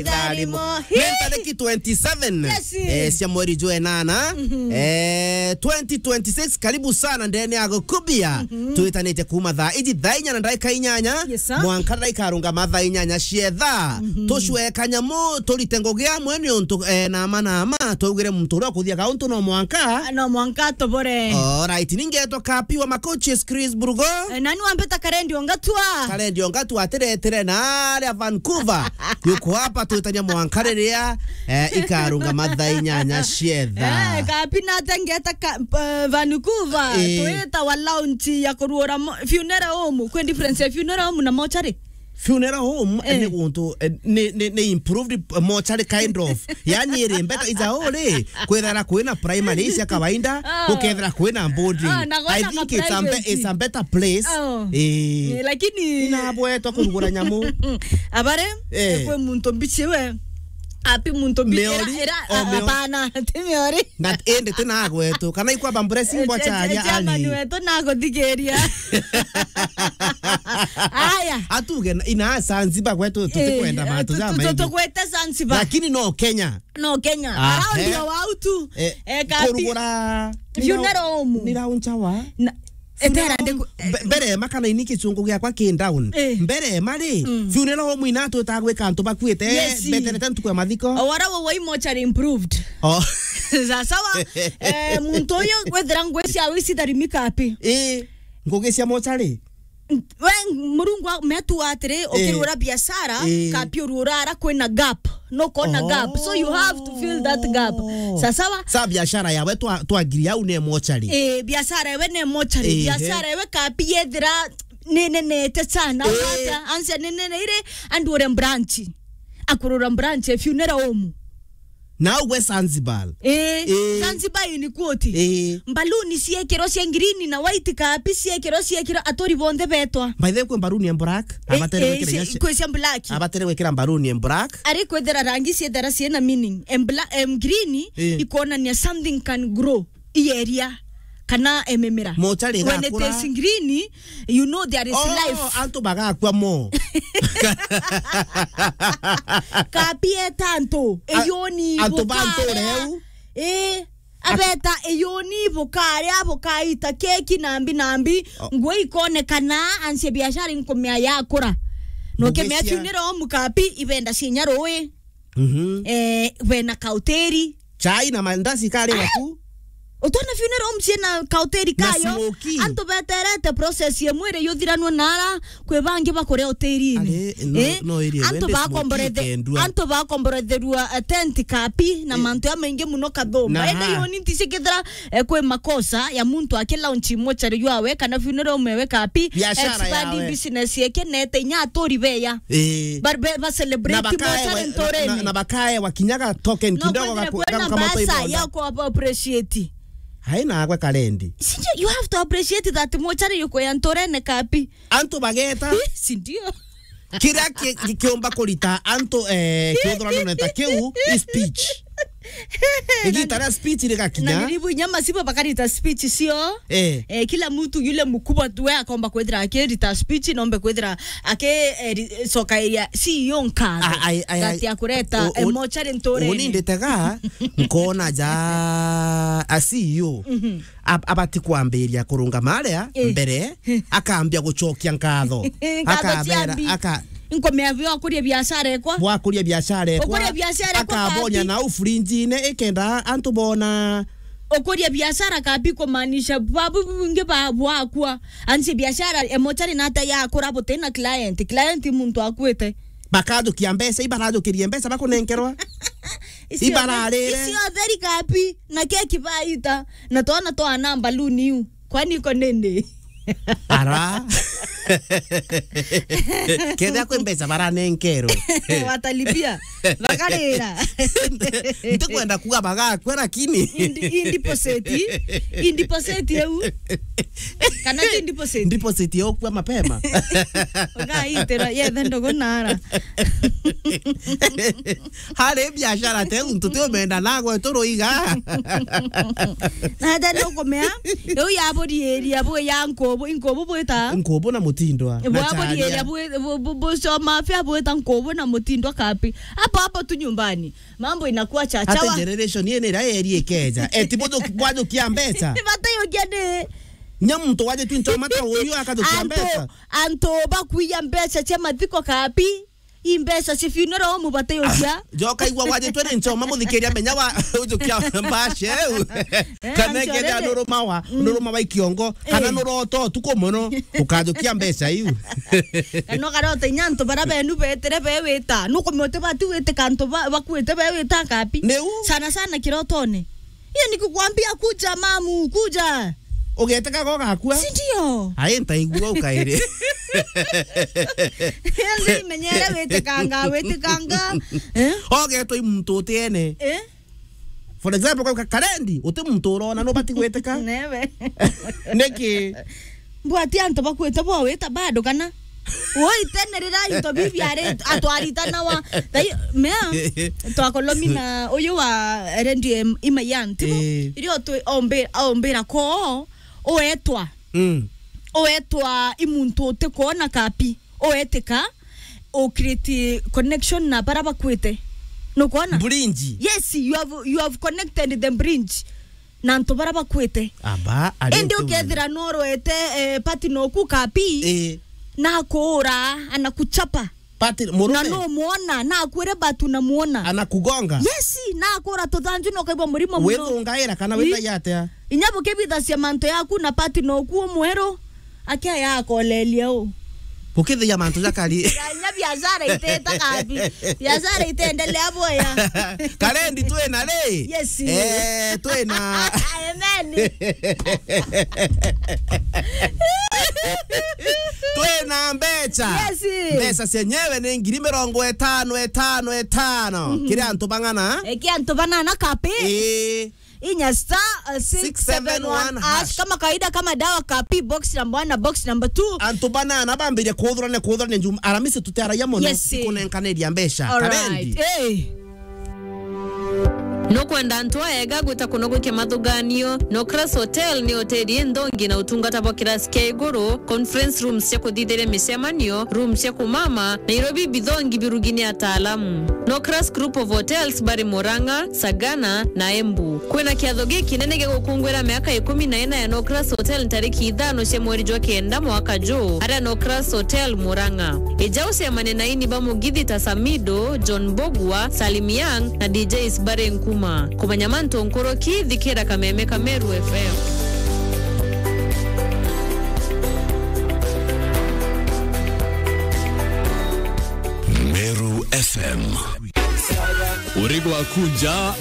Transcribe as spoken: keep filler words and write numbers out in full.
Tharimo. Ni tariki twenty-seven, yes, eh, cia mweri jwa enana, eh, twenty twenty-six. Karibu sana ndene ya Gukubia. Twitanite kuuma thaa iji thaa inya na ndaika inyanya, yes, sir, mwanka ndaika arungama thaa inyanya cietha. Tucwe kanyamu, turite ngugi amwe ni untu, eh, nama nama, twaugire muntu uria ukuthiaga untu no mwanka. Ah, no mwanka atobore. Alright, ningetwa Kapi wa Makochi, Chris Burugo. Eh, nani wambita Karendi Ongatua? Karendi Ongatua atiretire na aria Vancouver. Yuko hapa twitania mwanka riria, eh, ikarungama thaa inyanya cietha. Eh, Kapi nate ngeta ka-, eh, Vancouver. Eh. Twita wa launch ya kuruura mo-, funeral home. Kwi difference ya funeral home na mortuary? Funeral home, eh, ni guntu, eh, ni, ni, ni improved mortuary kind of. Yani iri better, is a hole. Kwithira kwina primary cia kawaida, oh, gukethira kwina boarding. Oh, na I gwina think ka it's a be-, private, it's a better place. Oh. Eh. Eh, lakini inabwetwa kurugura nyamu. Abare, eh, kwi muntu mbichi we. Api muntu mbichi Meori? Era, era, oh, a-, Meori. Apana, ti Meori. Na indi ti nagwetu. Kana ikwamba blessing, eh, bwa charia chairman ani wetu naguthigiria. Aya. Atuge na, ina Zanzibar gwetu, eh, tutikwenda matu tu-, tu-, jamaingi. Tugwete Zanzibar. Lakini no Kenya. No Kenya. Ah, around eh, your wautu. Eh, eh, Kapi. Kurugura. Funeral home. Ni rau nchawa. Na, etera ndeku-, mbe-, mbere ma kana ini kichungu giakwa ki down. Eh. Mbere ma ri, mm, funeral home ina twita gwika antu bakuite, yes, beterete ntuku ya mathiko. Owara wo wa mortuary improved. Oh. Sa-, sawa, eh, muntu uyu gwithira ngwi cia wisi tharimi Kapi. Eh, ngugi cia mortuary. We, Murungu a-, metu atiri, eh, ukirura biashara, eh, Kapi urura ara kwina gap. No kona gap. So you have to fill that gap. Oh. Sa-, sawa? Sa biashara yawe twa, twagiria au ne mortuary. Eh, biashara yawe ne mortuary. Eh, biashara yawe Kapi yethira ni nenete sana. Eh. Wata, ansia ni nene ire, andu ure branch. Akurura branch ya funeral home. Na ugwe Zanzibar. Eh, eh. Zanzibar in quote. Eh. Mbaluni ciekirwo cia green na white, Kapi ciekirwo, ciekirwo, aturi bonthe betwa. By the way, kwi mbaluni ya black. Eh, abatere eh, gwikira ici, cia, kwi cia black. Abatere gwikira mbaluni ya black. Ari kwithira rangi ciethera ciina meaning. Em bla-, em green, eh, ikonania something can grow. Ieria kana ememera. Mortuary igakura. When it is green, you know there is life. Oh, antu bagakua mo. Kapi eta antu, a-, eyoni antu ba bukare. Ntureu. Eh, abeta eyoni bukare, bukaita keki nambi nambi, oh, nguo ikonekana, ansie biashara inkumea yakura. No kemea funeral home Kapi ibenda cinya rui. Mhm. Eh, bena kauteri. Chai na mandazi kari waku. Utona funeral home ciina kauteri kayo. Na smoky. Antu beterete process ye mwiri yuthiranwe nara kwi bangi bakuria uteri-ini. Ari, no, eh? No area antu wende smoky bakomborethe-, ikendua. Antu bakomboretherua, eh, tent Kapi na, eh, mantu ya maingi muno kathumba. Na ende ha. Yoni nticikithira, eh, kwi makosa ya muntu aki launch mochari ywawe kana funeral home yawe Kapi. Biashara expanding yawe. Business yeke nete inya aturi beya. Eh. Ba, ba, ba celebrate na bakae mochari wa-, ntoreni. Na, na bakae wakinyaga token no kidogo kwethira gaku-, kwena gaku-, kamotoi mbasa bonda. Ya ku appreciate. Hai nagwe Karendi. Sindio, you have to appreciate that mochari yuko ya ntorene Kapi. Antu bageta. Eh, sindio. Kiria ki-, ki-, kiumba kurita antu, eh, kiuthurano neta kiu is speech. Igita ria speech rigakinya. Na niribu inya masibo bakarita speech cio. Eh. Eh, kila mtu yule mkubwa tu we akomba kwithira akirita speech, nombe kwithira aki, eh, ri-, coka area C E O nkatho. Ai, ai, ai, that ya kureta, o-, o-, eh, mochari nturene. Uni nditega, nkona ja a C E O. Mhm. Ab-, abati kwambiria kurungama aria, eh, mbere, akambia gucokia nkatho. Nkatho akabera, ciambi. Aka- Nkomea bwa kuria biashara ekwa. Bwa kuria biashara ekwa. Ukuria biashara ekwa akabonya Kapi. Na ufurinjine ikenda antu bona. Ukuria biashara Kapi kumaanisha babu bungi ba bwakwa. Ansi biashara emochari nata yakura butina client. Client muntu akwite. Bakajukia mbeca, ibarajukirie mbeca bakunenkerwa. Icio ibararire. Icio theri Kapi, na keki baita, na twana twana mbaluni iu. Kwani iko nini? Ara. Kethira kwi mbeca baranenkerwe. Watalipia. Bakarira. Ntikwenda kuga bagakua, lakini. Indi-, indiposeti. Indiposeti eu. Kana ti deposit? Deposit ya ukua mapema. Ugaitira yethe ndogo nara. Hari biashara te untu ti umenda nagwe turuiga. Na hata no kumea, riu yaburiiria bwi ya nkubu, inkubu bwita? Nkubu na mutindwa. Na bwaburiria charia. Bwi-, bu-, bu-, bucoma afya bwita nkubu na mutindwa kapi. Hapo hapo tu nyumbani. Mambo inakuwa chachawa. Ati generation yene ira eri ikeja. Eti buju-, bwajukia mbeca. Ni batayogia ni. Nya muntu waje tu nchoma ta uyu akajukia mbeca. Antu, antu bakuiya mbeca cia mathiko kapi. I mbeca cia funeral mubatayukia. Joka igua wajitwe ni nchoma muthikiria menya wa ujukia mbaca eu. Eh, kana ikethia nuruma wa, mm, nuruma wa ikiongo, kana, eh, nurota utuku muno, ukajukia mbeca iu. Kana ukarota inya antu bara benu betire bewita. Nukumiote bati witika antu ba-, bakuite bewita kapi. Niu? Sana sana kirotone. Hiyo ni kukwambia, "Kuja mamu, kuja." Ugetekaga ugakua? Si ndio? Ai, ntaigua ukairi. Yaani menyere witikanga, witikanga. Eh? Ogetwa i muntu utiene. Eh? For example, kwa Karendi, uti muntu urona, nubati gwitika? Newe. Niki? Mbwati antu bakwite bo wita bado kana? Woi, tene rira into bibi ari atwaritanawa. Thai, mea, twakolomina uyu wa rendi em-, Imayan, tibu? Eh. Irio twi-, ombi-, ombira ko, uetwa. Mm. Uetwa i muntu utikwona kapi. Uetika, u create connection na bara bakwite. Nukwona? Bridge. Yes, you have, you have connected the bridge. Na antu bara bakwite. Aba, ari indi ukethira norwete, eh, partner oku kapi, eh, nakuura, anakuchapa. Partner, murume? Na no muona, nakwire batu na muona. Anakugonga? Yes, nakuura tuthanju na ukaigua murimo muno. Withungaira kana withagia atia? Inya bukibithacia mantu yaku na partner oku umweru, akia yakolelia u. Bukithia mantu jakari. Inya biashara iteta kabi. Biashara itendelea boya. Karendi twina ri? Yes. Eh, twina. Amen. Twina mbeca. Yes. Mbeca cienyewe ni ngiri mirongo itano, itano, itano. Mhm. Kiri antu bang'ana? Eh, kiri antu banana kapi? Eh. Inya star, uh, six seven one hash. Kama kawaida, kama dawa kapi, box number one na box number two. Antu banana bambirie kuthurania, kuthurania njuma. Aramisi tutiaragia mono. Yes. Kunenkaniria mbeca. All right. Karendi. Eh. Nukwenda antu aega gwita kuno gwikia mathuganio? Nocras Hotel ni hoteli inthongi na utungata bwa kirasi kia iguru, conference rooms cia kuthithiria micemanio, rooms cia kumama, na irio bibithongi birugini ataalamu. Nocras Group of Hotels bari Murang'a, Sagana na Embu. Kwina kiatho gikinene gia gukungwira miaka ikumi na ina ya Nocras Hotel ntariki ithano cia mweri jwa kenda mwaka juu, aria Nocras Hotel Murang'a. Ija ucemanie na aini ba mugithi ta Samido, John Mbugua, Salim Young na D Js bari Nkuma. Kumenya mantu nkuruki, thikira Kameme ka Meru F M. Meru F M. Uri gwaku nja,